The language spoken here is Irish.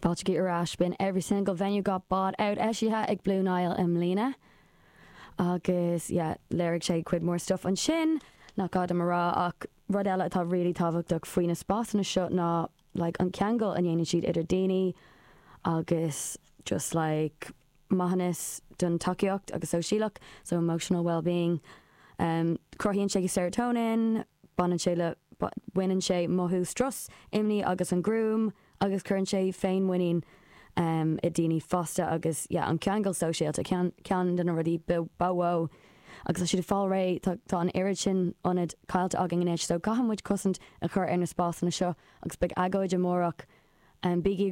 Fáilte ar ais. B'in "Every Single Venue Got Bought Out" eisithe ag Blue Nile i mbliana agus, yeah, léirigh sé cuid mór stuff ansin nach gá dom a rá. Ach rud eile atá really tábhachtach faoi na spásanna seo ná, like, an ceangal a ndéanann siad idir daoine agus just, like, maithiúnas don tacaíocht agus sóisialach, so emotional well-being. Cruthaíonn sé serotonin, baineann sé le baineann sé mothú strus, imní agus an gruaim agus cuireann sé féinmhuinín i daoine fosta agus, yeah, an ceangal sóisialta, ceann de na rudaí ba mhó agus tá siad ag fáil réidh. Tá an oiread sin ionad caillte againn anois, so caithfidh muid cosaint a chur ar na spásanna seo agus beidh agóid amárach. Bígí